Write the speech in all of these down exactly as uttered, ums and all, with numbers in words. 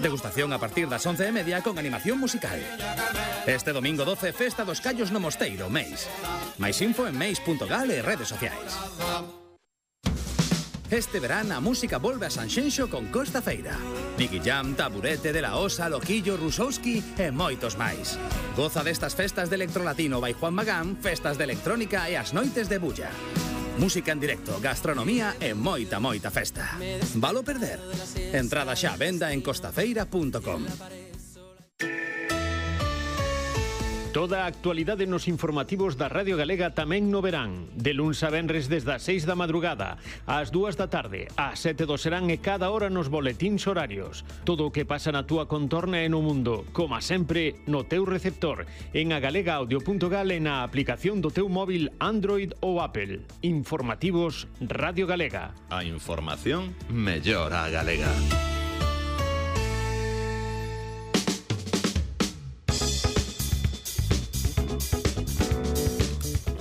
Degustación a partir das once e media con animación musical. Este domingo doce, Festa dos Callos no Mosteiro, Meis. Máis info en meis punto gal e redes sociais. Este verán a música volve a Sanxenxo con Costa Feira. Nicky Jam, Taburete, De La Osa, Loquillo, Rusowski e moitos máis. Goza destas festas de electrolatino by Juan Magán, festas de electrónica e as noites de bulla. Música en directo, gastronomía e moita, moita festa. Valo perder? Entrada xa a venda en costafeira punto com. Toda a actualidade nos informativos da Radio Galega tamén no verán. De luns a venres desde as seis da madrugada, ás dúas da tarde, ás sete do serán e cada hora nos boletíns horarios. Todo o que pasa na túa contorna e no mundo, como sempre, no teu receptor, en agalega audio punto gal e na aplicación do teu móvil Android ou Apple. Informativos Radio Galega. A información mellor a galega.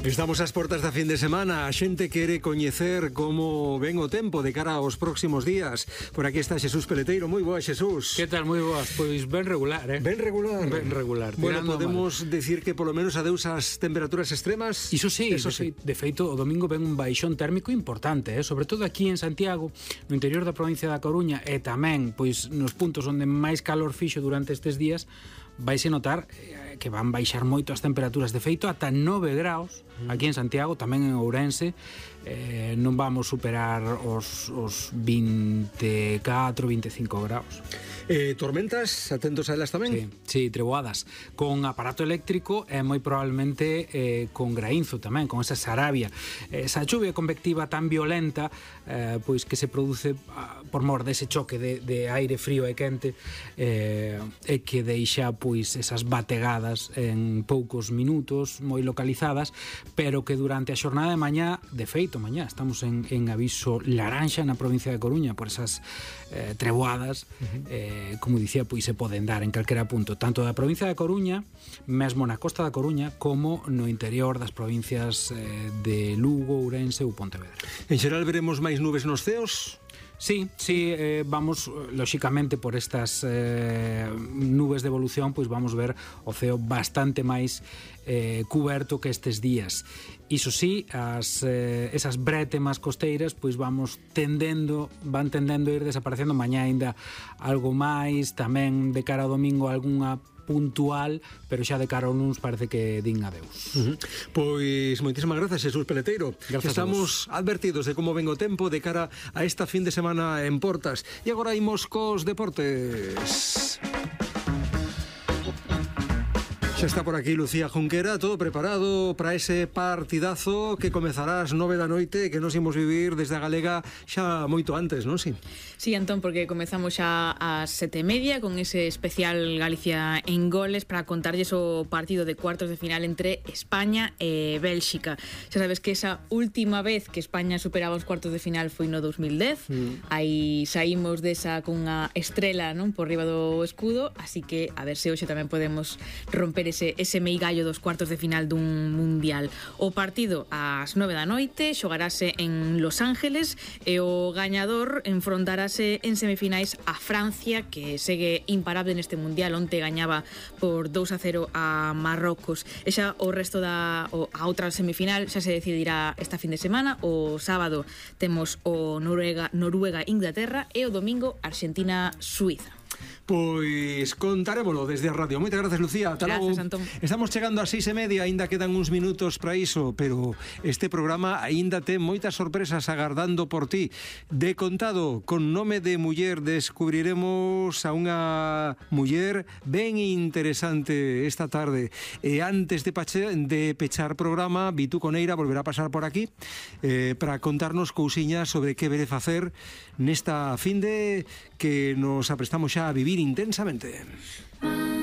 Estamos ás portas da fin de semana. A xente quere coñecer como ven o tempo de cara aos próximos días. Por aquí está Xesús Peleteiro. Moi boa, Xesús. Que tal? Moi boas. Pois ben regular, eh? Ben regular. Ben regular. Bueno, podemos mal. Decir que polo menos adeus as temperaturas extremas. Iso sí, Eso de, sí. Fe, de feito, o domingo ven un baixón térmico importante, eh? Sobre todo aquí en Santiago, no interior da provincia da Coruña, e tamén, pois, nos puntos onde máis calor fixo durante estes días, vaise notar eh, que van baixar moito as temperaturas. De feito, ata nove graus aquí en Santiago, tamén en Ourense, eh, non vamos superar os, os vinte e catro, vinte e cinco graus. Eh, tormentas, atentos a elas tamén? Sí, sí, treboadas con aparato eléctrico e moi probablemente eh, con graínzo tamén, con esa sarabia, esa chuvia convectiva tan violenta, eh, pois que se produce ah, por mor dese choque de, de aire frío e quente, eh, e que deixa pois esas bategadas en poucos minutos, moi localizadas, pero que durante a xornada de mañá, de feito mañá estamos en, en aviso laranxa na provincia de Coruña por esas eh, treboadas, uh-huh. eh, como dicía, pois se poden dar en calquera punto, tanto da provincia de Coruña, mesmo na costa da Coruña, como no interior das provincias eh, de Lugo, Ourense ou Pontevedra. En xeral veremos máis nubes nos ceos? Sí, sí, eh, vamos, lóxicamente, por estas eh, nubes de evolución, pois vamos ver o ceo bastante máis eh, cuberto que estes días. Iso sí, as, eh, esas brétemas costeiras, pois vamos tendendo, van tendendo a ir desaparecendo. Mañá ainda algo máis, tamén de cara ao domingo algunha puntual, pero xa de cara ao luns parece que din adeus. Uh-huh. Pois moitísimas grazas, Xesús Peleteiro. Gracias. Estamos advertidos de como ven o tempo de cara a esta fin de semana en portas. E agora imos cos deportes. Xa está por aquí Lucía Junquera, todo preparado para ese partidazo que comezará ás nove da noite, que nos imos vivir desde a Galega xa moito antes, non? Si? Sí, Antón, porque comezamos xa ás sete e media con ese especial Galicia en goles para contarlles o partido de cuartos de final entre España e Bélxica. Xa sabes que esa última vez que España superaba os cuartos de final foi no dos mil dez, mm. aí saímos desa con unha estrela, non, por riba do escudo, así que a ver se hoxe tamén podemos romper ese, ese meigallo dos cuartos de final dun mundial. O partido ás nove da noite xogarase en Los Ángeles e o gañador enfrontarase en semifinais a Francia, que segue imparable neste mundial. Onte gañaba por dous a cero a Marrocos. E xa o resto da o, a outra semifinal xa se decidirá esta fin de semana. O sábado temos o Noruega Noruega Inglaterra e o domingo Argentina Suiza. Pois contarémolo desde a radio. Moitas grazas, Lucía. Ata logo. Antón. Estamos chegando a seis e media, aínda quedan uns minutos para iso, pero este programa aínda ten moitas sorpresas agardando por ti. De contado, con nome de muller, descubriremos a unha muller ben interesante esta tarde. E antes de, pache, de pechar programa, Vitu Coneira volverá a pasar por aquí eh, para contarnos cousiñas sobre que vere facer nesta finde que nos aprestamos xa a vivir intensamente.